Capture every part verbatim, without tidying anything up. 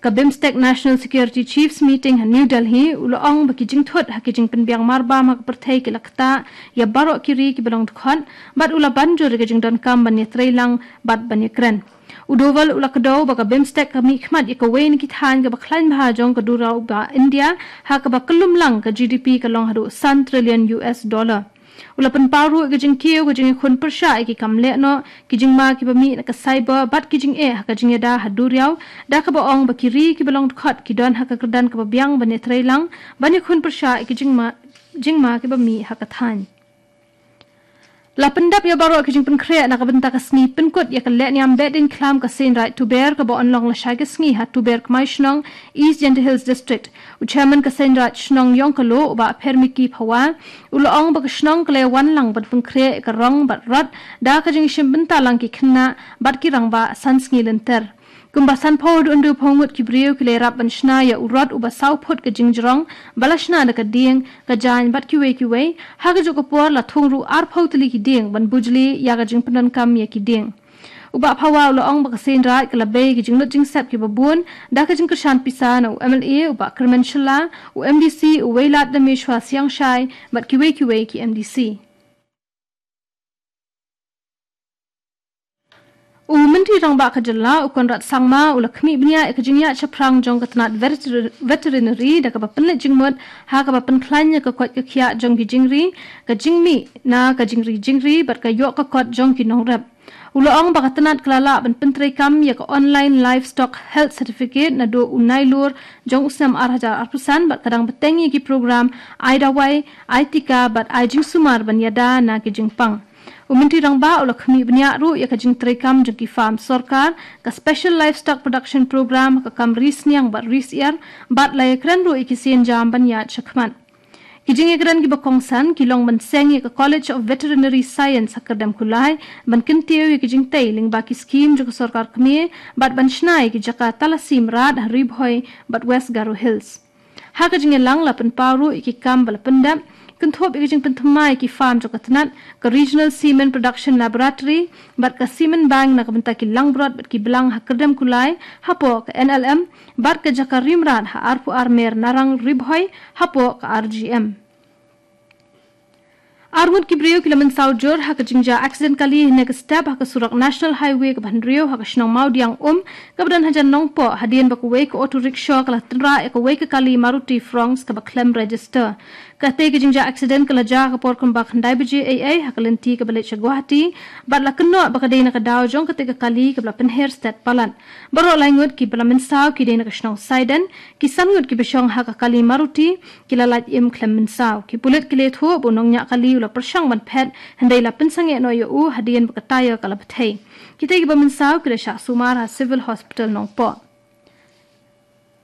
ka BIMSTEC National Security Chiefs Meeting ha New Delhi, u la ong ba ki jingthut ha ki jingpynbiang marbam ha ka pyrthei ki la ktah ïa baroh ki ri kiba long dkhot, bad u la ban jur ïa ka jingdonkam ban ïatreilang bad ban ïakren. U Doval u la kdew ba ka BIMSTEC ka mihkhmat ïa kawei na ki thaiñ kaba khlaiñ bha jong ka duriaw ba India, ha kaba kyllum lang ka G D P ka long haduh san trillion U S dollar. U la pynpaw ruh ïa ka jingkiew, ka jingïakhun pyrshah ïa ki kam lehnoh, ki jingma kiba mih na ka cyber, bad ki jingeh ha ka jingïada ha duriaw, da kaba ong ba ki ri kiba long dkhot ki don ha ka kyrdan kaba biang ban ïatreilang, ban ïakhun pyrshah ïa ki jingma, jingma kiba mih ha ka thaiñ. La pyndap ïa baroh ki jingpynkhreh na ka bynta ka sngi pynkut ïa ka lehniam Behdeiñkhlam ka Seiñraij Tuber kaba yn long lashai ka sngi ha Tuber Kmaishnong, East Jaintia Hills District. U Chairman ka Seiñraij Shnong Ïongkaloh, u Bah Phermiki Phawa, u la ong ba ka shnong ka la wan lang ban pynkhreh ïa ka rong bad rot da ka jingshim bynta lang ki khynnah bad ki rangbah san sngi lynter. Kumba sanphew haduh hynriewphew ngut ki briew ki la ïarap ban shna ïa u rot uba saw phut ka jingjrong, ba la shna da ka dieng, ka jaiñ bad kiwei kiwei, ha kajuh ka por la thung ruh arphew tylli ki dieng ban bujli ïa ka jingpyndonkam ïa ki dieng. U Bah Phawa u la ong ba ka Seiñraij ka la bei ki jinglut jingsep kiba bun, da ka jingkyrshan pisa na u M L A, u Bah Kyrmen Shylla, u M D C, u Wailadmiki Dameshwa Siangshai, bad kiwei kiwei ki M D C. U Myntri Rangbah ka Jylla, u Conrad Sangma, u la khmih bniah ïa ka jingïaid shaphrang jong ka tnat veter-, veterinary, da kaba pynleit jingmut ha kaba pynkhlaiñ ïa ka koit ka khiah jong ki jingri, ka jingmih na ka jingri jingri, bad ka ïoh ka kot jong ki nongrep. U la ong ba ka tnat ka la lah ban pyntreikam ïa ka Online Livestock Health Certificate naduh u Nailur jong u snem ar hajar arphew san, bad ka dang bteng ïa ki program ai dawai, ai tika, bad ai jingsumar ban ïada na ki jingpang. U Myntri Rangbah u la khmih bniah ruh ïa ka jingtreikam jong ki farm sorkar, ka Special Livestock Production Program, ka kam ri sniang bad ri syiar, bad la ïakren ruh ïa ki sienjam ban ïaid shakhmat. Ki jingïakren kiba kongsan ki long ban seng ïa ka College of Veterinary Science ha Kyrdem Kulai, ban kyntiew ïa ki jingtei lyngba ki skhim jong ka sorkar kmie, bad ban shna ïa ki jaka talasi mrad ha Ri Bhoi bad West Garo Hills. Ha ka jingïalang la pynpaw ruh ïa ki kam ba la pyndep, kynthup ïa ka jingpynthymmai ïa ki farm jong ka tnat, ka Regional Semen Production Laboratory, bad ka Semen Bank na ka bynta ki langbrot bad ki blang ha Kyrdem Kulai, hapoh ka N L M, bad ka jaka ri mrad ha arphew ar mer Narang Ri Bhoi, hapoh ka R G M. Ar ngut ki briew ki la mynsaw jur ha ka jingjia accident kali hynne ka step ha ka surok National Highway kaba hynriew ha ka shnong Mawdiang Um, kaba don hajan Nongpoh, hadien ba kawei ka auto rickshaw ka la tynrah ïa kawei ka kali Maruti Fronx kaba khlem register. Katei ka jingjia accident ka la jia ha ka por kumba khyndai baje eiei ha ka lynti kaba leit sha Guwahati, bad la kynnoh ba ka dei na ka daw jong katei ka kali kaba la pynher stet palat. Baroh lai ngut kiba la mynsaw ki dei na ka shnong Saiden, ki san ngut kiba shong ha ka kali Maruti, ki la lait im khlem mynsaw. Ki pulit ki la ïathuh ba u nongñiah kali u la pyrshang ban phet, hynrei la pynsangeh noh ïa u hadien ba ka tyre ka la bthei. Kitei kiba mynsaw ki la shah sumar ha Civil Hospital Nongpoh.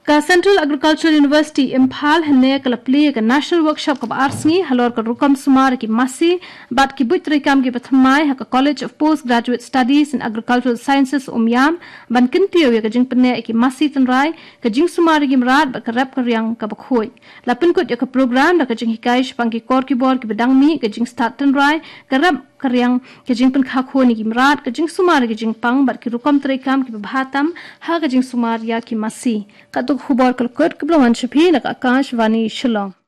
Ka Central Agricultural University Imphal hynne ka la plie ïa ka National Workshop kaba ar sngi halor ka rukom sumar ïa ki masi bad ki buit treikam kiba thymmai ha ka College of Postgraduate Studies in Agricultural Sciences Umiam, ban kyntiew ïa ka jingpynneh ïa ki masi tynrai, ka jingsumar ïa ki mrad bad ka rep ka riang kaba khuid. La pynkut ïa ka program da ka jinghikai shaphang ki kor ki bor kiba dang mih, ka jingstad tynrai, ka rep ka riang, ka jingpynkha khun ïa ki mrad, ka jingsumar ïa ki jingpang bad ki rukom treikam kiba bha tam ha ka jingsumar ïa ki masi. Katto ka khubor ka la kut, kaba la wan sha phi na ka Akashvani Shillong.